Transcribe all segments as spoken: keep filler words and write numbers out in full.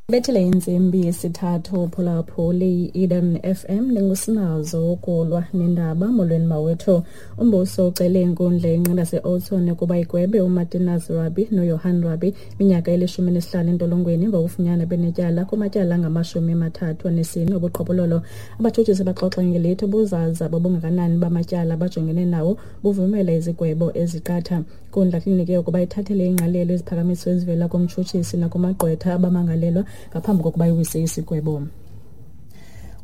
Bethile intsimbi yesithathu, phulaphuli i-Eden F M, ndingusinazo ukulwa nendaba. Molweni mawethu. Umbuso ucele inkundla yenqila yase-Oudtshoorn ukuba igwebe uMartinus Rabie noJohan Rabie iminyaka elishumi nesihlanu entolongweni ngokufunyanwa benetyala kumatyala angamashumi amathathu anesine obuqhophololo. Abatshutshisi baxoxa ngelithi ubuzaza bobungakanani bamatyala abajongene nawo buvumela izigwebo eziqatha. Inkundla kulindeleke ukuba ithathele ingqalelo iziphakamiso ezivela kumtshutshisi nakumagqwetha abamangalelwa ngaphambi kokuba iwise isigwebo.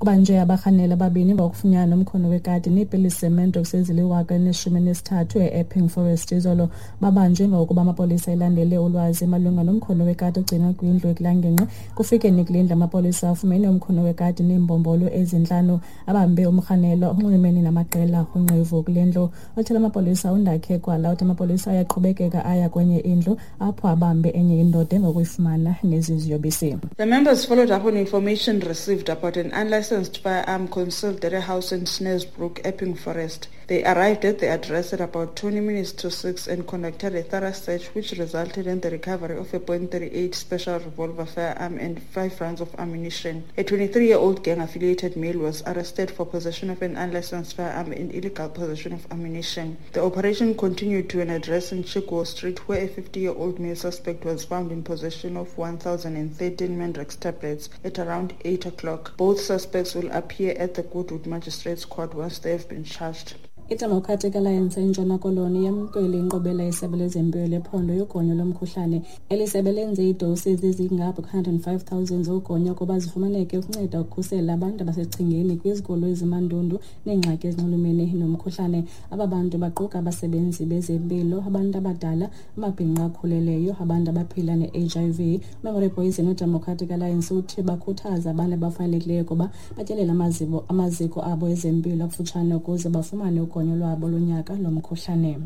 Kubanjwe abarhanelwa ababini ngokufunyanwa nomkhono wekati neepilisi zeMandrax eziliwaka elineshumi elinesithathu e-Epping Forest izolo. Babanjwe ngokuba amapolisa elandele ulwazi malunga nomkhono wekati ogcinwe kwindlu ekulaa ngingqi. Kufikeni kule ndlu, amapolisa afumene umkhono wekati neembombolo ezintlanu. Abambe umrhanelwa onxulumene namaqela onqevu kule ndlu. Othela amapolisa uNdakhe Kwala uthi amapolisa ayaqhubekeka aya kwenye indlu apho abambe enye indoda engokuyifumana nezi ziyobisi. The members followed up on information received about an unlicensed firearm concealed at a house in Snaresbrook, Epping Forest. They arrived at the address at about twenty minutes to six and conducted a thorough search, which resulted in the recovery of a point three eight special revolver firearm and five rounds of ammunition. A twenty-three-year-old gang-affiliated male was arrested for possession of an unlicensed firearm and illegal possession of ammunition. The operation continued to an address in Chigwell Street, where a fifty-year-old male suspect was found in possession of one thousand thirteen Mandrax tablets at around eight o'clock. Both suspects will appear at the Goodwood Magistrates Court once they have been charged. IDemocratic Alliance eNtshona Koloni yamkele inkqubela yesebe lezempilo lephondo yogonyo lomkhuhlane. Eli sebe lenze iidosi ezingapha kwe-one hundred and five thousand zogonyo ukuba zifumaneke ukunceda ukukhusela abantu abasesichengeni kwizigulo ezimandundu neengxaki ezinxulumene nomkhuhlane. Aba bantu baquka abasebenzi bezempilo, abantu abadala, amabhinqa akhulelweyo, abantu abaphila ne-H I V. UMemory Poison weDemocratic Alliance uthi bakhuthaza abantu abafanelekileyo ukuba batyelele amaziko, amaziko abo ezempilo akufutshane ukuze bafumane ugonyo lwabo lonyaka lomkhuhlane.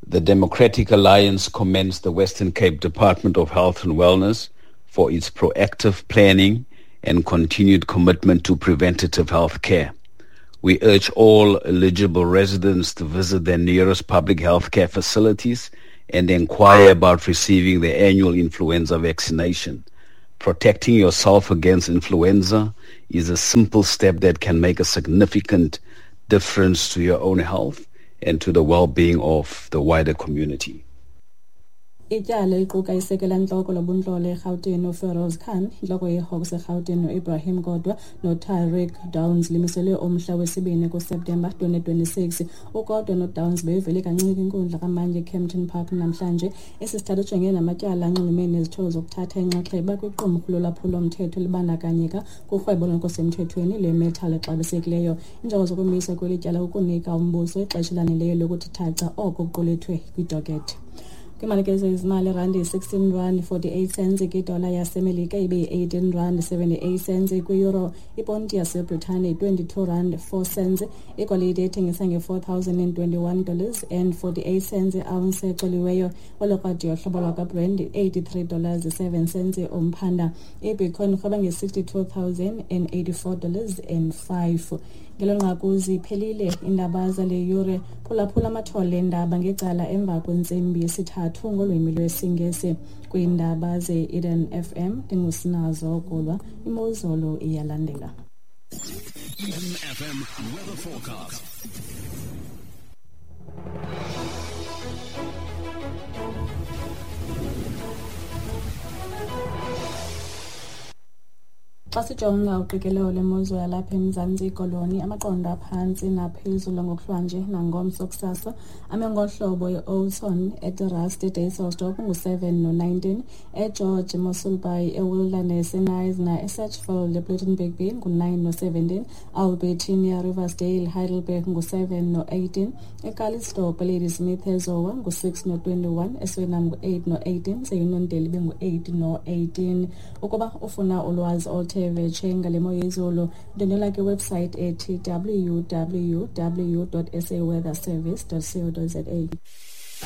The Democratic Alliance commends the Western Cape Department of Health and Wellness for its proactive planning and continued commitment to preventative health care. We urge all eligible residents to visit their nearest public health care facilities and inquire about receiving their annual influenza vaccination. Protecting yourself against influenza is a simple step that can make a significant difference to your own health and to the well-being of the wider community. Ityala eliquka isekela ntloko lobuntlolo eRhawutini uFeroz Khan, intloko yeHawks eRhawutini uIbrahim Kodwa noTariq Downs limiselwe umhla wesibini kuSeptemba twenty twenty-six. UKodwa noDowns bevele kancinci kwinkundla kamantyi eKempton Park namhlanje. Esi sithathu ujongene namatyala anxulumene nezityholo zokuthatha inxaxheba kwiqumrhu lolwaphulo-mthetho elibandakanyeka kurhwebo olungekho semthethweni lwemetal exabisekileyo. Iinjongo zokumiswa kweli tyala kukunika umbuso ixesha elaneleyo lokuthi thaca oko kuqulethwe kwidokethi. Kwiimali zezimali, irandi yi-sixteen rand forty-eight cents kwidola yaseMelika, ibe yi-eighteen rand seventy-eight cents kwi-euro. Iponti yaseBritane yi-twenty-two rand four cents. Igolide ethengisa nge-four thousand and twenty-one dollars and forty-eight cents i-ounce exoliweyo. Olo krwada yohlobo lwakwaBrent eighty-three dollars seven cents umphanda. IBitcoin irhweba nge-sixty-two thousand and eighty-four dollars and five. Ngelo nqaku ziphelile iindaba zale yure. Phulaphula amathole eendaba ngecala emva kwentsimbi yesithathu ngolwimi lwesiNgesi. Kwiindaba ze-Eden F M, ndingusinazo Kulwa. Imozulu iyalandela. Eden F M weather forecast. Xa sijonga uqikelelo lwemozulu yalapha eMzantsi Koloni, amaqondo aphantsi naphezulu ngokuhlwanje nangomso kusasa ame ngohlobo: e-Oudtshoorn, eTerrace, eDysselsdorp ngu-seven no-nineteen, eGeorge, eMossel Bay, eWilderness, eKnysna, eSedgefield, ePlettenberg Bay ngu-nine no-seventeen, Albertinia, Riversdale, Heidelberg ngu-seven no-eighteen, eCalitzdorp, eLadysmith, eZowa ngu-six no-twenty-one, eSuriname ngu-eight no-eighteen, seUniondale ibe ngu-eight no-eighteen. Ukuba ufuna ulwazi oluthe vetshe ngale mo yezulu, ndwendwela kwiwebsite ethi W W W dot saweatherservice dot co dot za.